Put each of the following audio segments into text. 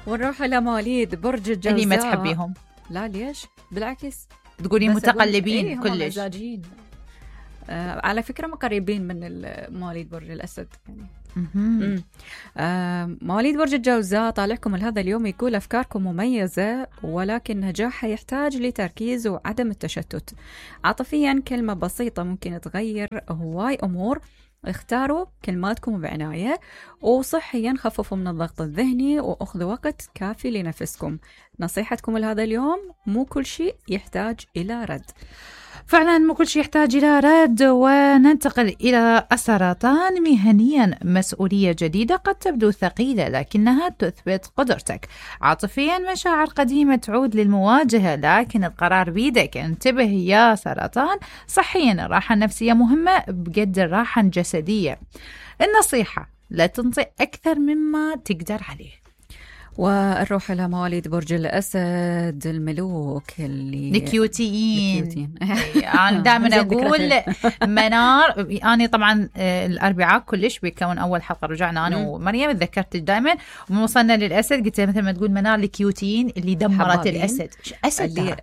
ونروح إلى مواليد برج الجوزاء. اللي ما تحبيهم؟ لا ليش؟ بالعكس تقولين متقلبين كلش. مزاجين. على فكرة قريبين من مواليد برج الأسد يعني. مواليد برج الجوزاء طالعكم هذا اليوم يقول أفكاركم مميزة، ولكن نجاحها يحتاج لتركيز وعدم التشتت. عاطفيا كلمة بسيطة ممكن تغير هواي أمور، اختاروا كلماتكم بعناية. وصحيا خففوا من الضغط الذهني وأخذوا وقت كافي لنفسكم. نصيحتكم لهذا اليوم مو كل شيء يحتاج إلى رد. فعلا مو كل شيء يحتاج إلى رد. وننتقل إلى السرطان. مهنيا مسؤولية جديدة قد تبدو ثقيلة لكنها تثبت قدرتك. عاطفيا مشاعر قديمة تعود للمواجهة لكن القرار بيدك. انتبه يا سرطان. صحيا الراحة النفسية مهمة بقد الراحة الجسدية. النصيحة لا تنطي أكثر مما تقدر عليه. ونروح إلى مواليد برج الأسد الملوك اللي الكيوتيين. أنا دائما أقول منار. أنا طبعا الأربعاء كلش بيكون أول حلقة رجعنا أنا ومريم تذكرت دائما ووصلنا للأسد قلت مثل ما تقول منار الكيوتيين اللي دمرت الأسد. أسد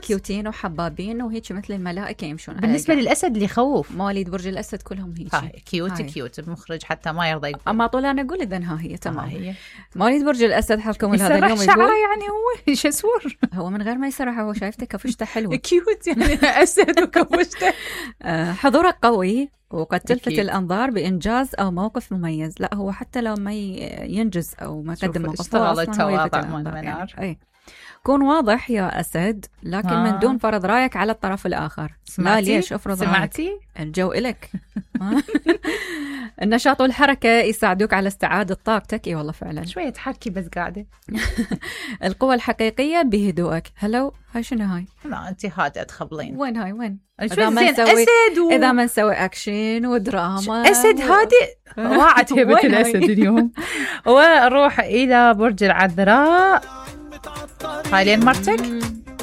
كيوتين وحبابين وهيك مثل الملائكة يمشون. بالنسبة للأسد اللي يخوف. مواليد برج الأسد كلهم هيك كيوت. المخرج حتى ما يرضى يقول. أما طول أنا أقول إذن ها هي تمام. مواليد برج الأسد حالكم هذا اليوم يقول شعره يعني هو شسور. هو من غير ما يسرح هو شايفته كفشته حلوة كيوت يعني أسد وكفشته. حضورك قوي وقد تلفت الأنظار بإنجاز أو موقف مميز. لا هو حتى لو ما ينجز أو ما قدم موقف يعني. كون واضح يا أسد لكن من دون فرض رأيك على الطرف الآخر. لا ليش أفرض سمعتي رأيك؟ الجو إلك. النشاط والحركة يساعدوك على استعادة طاقتك. والله فعلا شوية تحكي بس قاعدة. القوة الحقيقية بهدوءك. هلو هاي شنو هاي؟ لا أنت هادئة تخبلين. وين هاي وين؟ إذا ما نسوي إذا ما نسوي أكشن ودراما. أسد هادئ. راعت هبة الأسد اليوم. ونروح إلى برج العذراء. هاي لين مرتك.